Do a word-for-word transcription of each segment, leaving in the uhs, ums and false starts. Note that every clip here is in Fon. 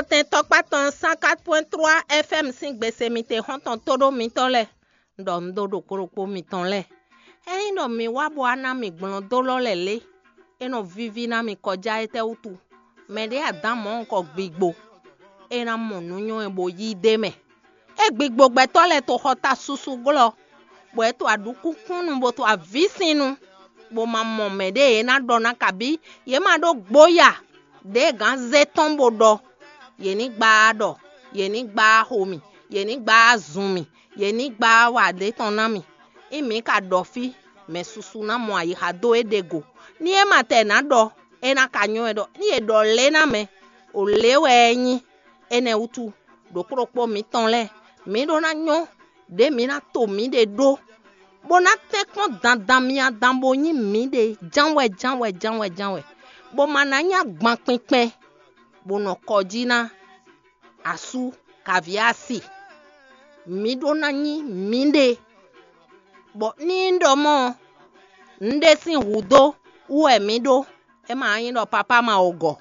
Tɛn tɔkpá tɔn cent quatre point trois F M sín gbese mitexɔ́ntɔn tóɖó mitɔn lɛ́ɛ, un ɖɔ un ɖó ɖokpó ɖokpó mitɔn lɛ́ɛ. Ényí ɖɔ mi wá bó wá ná mì gblɔn dó lɔ́ lɛ̌ lé, é nɔ víví ná mi kɔjá étɛ́ wútu? Mɛɖé adǎn mɔ̌hunkɔ gbigbo, é ná mɔ nǔ nyɔ́ ɛ bó yí d'é mɛ. É gbigbo gbɛtɔ́ lɛ́ɛ to xɔ ta susu glɔ́, bɔ é to aɖǔkúnkúnnu bó to avǐsinnu, bó ma mɔ mɛɖé e ná ɖɔ ná kabí yě ma ɖó gbóya ɖě gǎn zé tɔn bó ɖɔ: "Yě ní gbá ɖɔ, yě ní gbá xo mì, yě ní gbá zun mì, yě ní gbá wa ɖě tɔn ná mì." Ényí mǐ ka ɖɔ fí, mɛ susu ná mɔ ayixa dó éɖée go. Ní é ma tɛ nǎ ɖɔ, é ná ka nyɔ́ wɛ ɖɔ ní è ɖɔ lě ná mɛ, ò lě wɛ é nyí. Énɛ́ wútu, ɖokpó ɖokpó mǐtɔn lɛ́ɛ, mǐ ɖó ná nyɔ́ ɖě mǐ ná to mǐɖée ɖó, bó ná tɛ́nkpɔ́n dandan myá dan bó nyí mǐɖée jánwɛ jánwɛ jánwɛ jánwɛ, bó ma ná nyí agban kpinkpɛn, bó nɔ kɔ jí ná asú kaví asi. Mǐ ɖó ná nyí mǐɖée, bɔ ní un ɖɔ mɔ̌ ɔ́, un ɖé sín hǔdó wú wɛ mǐ ɖó, é ma nyí ɖɔ papá ma o gɔ̌.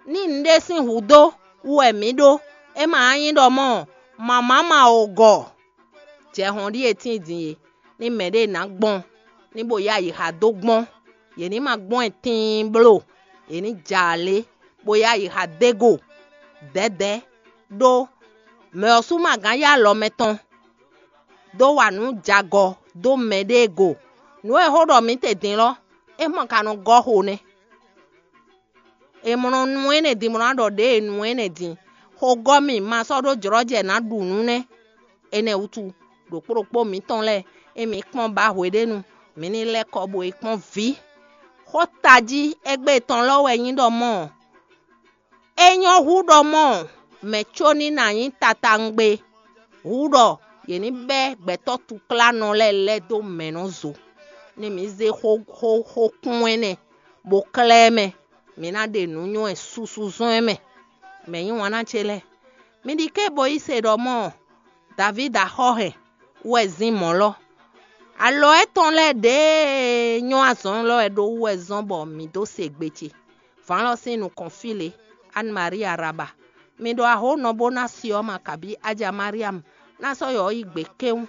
Ní un ɖé sín hǔdó wú wɛ mǐ ɖó, é ma nyí ɖɔ mɔ̌ mamǎ ma o gɔ̌. Jɛhɔn ɖíe tíin din e, ní mɛɖé ná gbɔn, ní bo yá yi xa dó gbɔn, yě ní ma gbɔn ɛ tiin bló, yě ní jɛ alě, bó yá yi xa dó e go dɛ̌dɛ̌, ɖó mɛ ɔ́ sú ma gán yá alɔ mɛtɔn dó wa nǔ jagɔ dó mɛɖée go. Nǔ e xó ɖɔ mǐ te din lɔ́, é mɔ ka nɔ gɔ́ xo nɛ́. È mlɔ nú énɛ́ din, mlɔ ná ɖɔ ɖěe nǔ énɛ́ din. Xogɔ́ mì ma sɔ́ ɖó jlɔ́ jɛ nǎ ɖu nǔ nɛ́. Énɛ́ wútu, ɖokpó ɖokpó mǐtɔn lɛ́ɛ, é mǐ kpɔ́n ba hweɖénu, mǐ ní lɛ́ kɔ bo yi kpɔ́n vǐ. Xó tají égbé tɔn lɔ́ wɛ nyí ɖɔ mɔ̌ ɔ́, é nyɔ́ hú ɖɔ mɔ̌ mɛ có ní ná nyí tatawungbe, hú ɖɔ yě ní bɛ́ gbɛtɔ́ tuklánnɔ lɛ́ɛ lɛ́ dó mɛ̌ nɔ zo, ní mǐ zé xó xó xó kún ɛnɛ, bó klɛ́ ɛ mɛ, mǐ ná ɖe nǔ nywɛ́ susu zɔ́n ɛ mɛ. Mɛ̌ nyí wanná ce lɛ́ɛ? Mi ɖi ké bo yí se ɖɔ mɔ̌ Davídi axɔ́ hɛn wú wɛ zín mɔ̌ lɔ. Alɔ étɔn lɛ́ɛ ɖěe nyɔ́ azɔn lɔ wɛ ɖó wú wɛ zɔ́n bɔ mǐ dó se gbe ce. Vǎn lɔ sín nukɔn fí lě, Anne Marie Araba. Mi ɖo axó nɔ bó ná si ɔ́ ma kabí Aja Mariam ná sɔ́ yɔ ɔ́ yi gbe kéwún.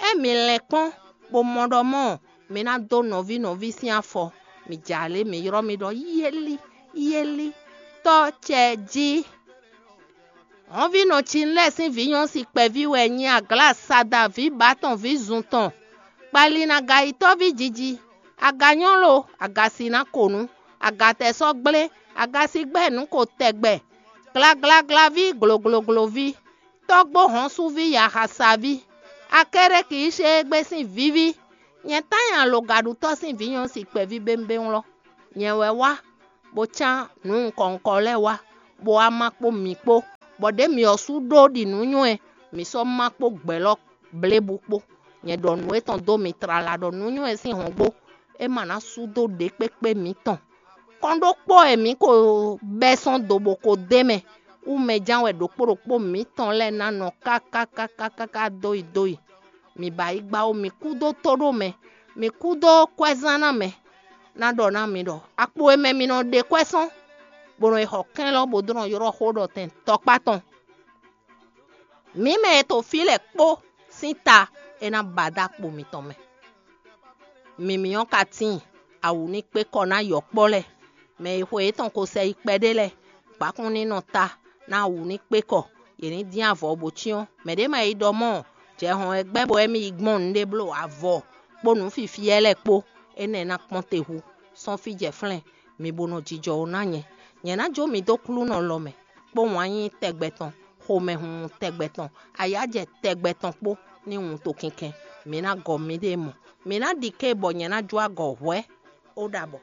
Ée mi lɛn kpɔ́n, bó mɔ ɖɔ mɔ̌ mi ná dó nɔví nɔví sín afɔ, mi jɛ alě mi ylɔ́ mi ɖɔ: "Yéli, yéli, tɔ́ ce jí." Hɔnvínɔ Cinlɛ́ɛ sín vǐ nyɔ́si kpɛví wɛ nyí Aglasada ví bǎ tɔn ví zun tɔn, kpalinagayitɔ́ví jiji, aganyɔ́lo, agasǐnákonu, agatɛsɔ́gblé, agasigbɛ́nǔko tɛgbɛ, glaglaglaví, gloglogloví, tɔ́gbó hɔ̌nsuví, yaxasaví, Akɛ́rɛ́ki yi ṣe égbé sín víví. Nyɛ tán nyi alogaɖutɔ́ sín vǐ nyɔ́si kpɛví bémbéwlɔ́. Nyɛ wɛ wá, bó cán nǔ nukɔn nukɔn lɛ́ɛ wá, bó wá má kpó mǐ kpó, bɔ ɖě mǐ ɔ́ sú ɖó ɖi nǔ nywɛ́, mǐ sɔ́ má kpó gbɛ̌ lɔ blébú kpó. Nyɛ ɖɔ nǔ etɔn dó mi tlala ɖɔ nǔ nywɛ́ sín hɔngbó, é ma ná sú dó ɖě kpékpé mǐtɔn. Kɔn ɖokpó wɛ mǐ ko bɛ́ sɔ́n do bó ko d'é mɛ, wú mɛ ján wɛ ɖokpó ɖokpó mǐtɔn lɛ́ɛ ná nɔ káká káká káká dó yi dó yi. Mǐ ba yi gba ó, mǐ kú dó tóɖó mɛ, mǐ kú dó kwɛ́zán ná mɛ, ná ɖɔ ná mi ɖɔ akpo e mɛ mi nɔ ɖe kwɛ́ sɔ́n, bó nɔ yi xɔ kɛ́n lɔ bó dó nɔ ylɔ́ xó ɖɔ tɛn tɔkpá tɔn. Mǐ mɛ e to fí lɛ́ɛ kpó sín ta é ná ba dó akpo mitɔn mɛ. Mǐmí ɔ́ ka tíin, awǔ ní kpé kɔ ná yɔ̌kpɔ́ lɛ́ɛ, mɛ e xwe yětɔn ko sɛ yi kpɛɖé lɛ́ɛ, gbǎkún ní nɔ ta ná awǔ ní kpé kɔ, yě ní dín avɔ bó cyɔ́n. Mɛ̌ ɖě ma yi ɖɔ mɔ̌, jɛ hɔn wɛ gbɛ́ bɔ émí yi gbɔn nǔɖé bló avɔ kpó nǔ fifiyɛ́ lɛ́ɛ kpó, énɛ́ ná kpɔ́n te hu, sɔ́n fí jɛ flɛ́n, mi bo nɔ jijɔ ó ná nyɛ. Nyɛ ná jó mi dó klúnɔ lɔ mɛ, kpó wǎn yíyí tɛgbɛ tɔn, xomɛhunhun tɛgbɛ tɔn, ayǎjɛ tɛgbɛ tɔn kpó ní wun to kinkɛn. Mi ná gɔ miɖée mɔ. Mi ná ɖi ké bɔ nyɛ ná jó agɔ hwɛ̌. Ó ɖabɔ.